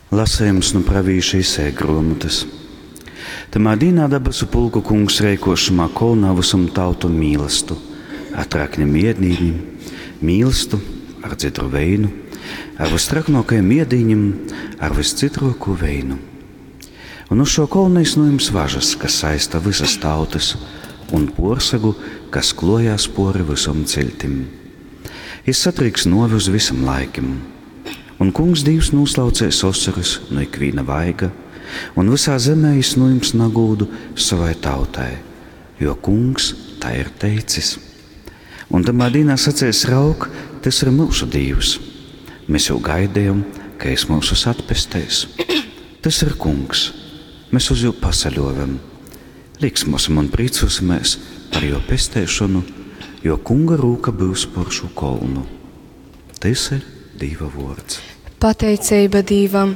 Lasejums nu pravīša Isaija gruomotys. Tamā dīnā dabasu pulku kungs reikuos šymā kolnā vysom tautom mīlastu, ar traknim iedīnim, mīlastu, ar dzidru veinu, ar vystraknuokajim iedīņim, ar vyscytruokū veinu. Un uz šo kolna es nūjums važas, kas saista vysas tautys, un puorsagu, kas klojās puori vysom ciļtim. Jis satrīks nuovi uz vysim laikim. Un Kungs Dīvs nūslaucēs osorys nu ikvīna vaiga, un vysā zemē jis nūjims nagūdu sovai tautai, jo Kungs tai ir teicis. Un tamā dīnā sacēs: Raug, tys ir myusu Dīvs. Mēs jū gaidējom, ka jis myusus atpesteis. Tys ir Kungs, mēs uz jū pasaļuovem. Līksmosim un prīcuosimēs par juo pesteišonu, jo Kunga rūka byus por šū kolnu. Tys ir Dīva vuords. Pateiceiba Dīvam.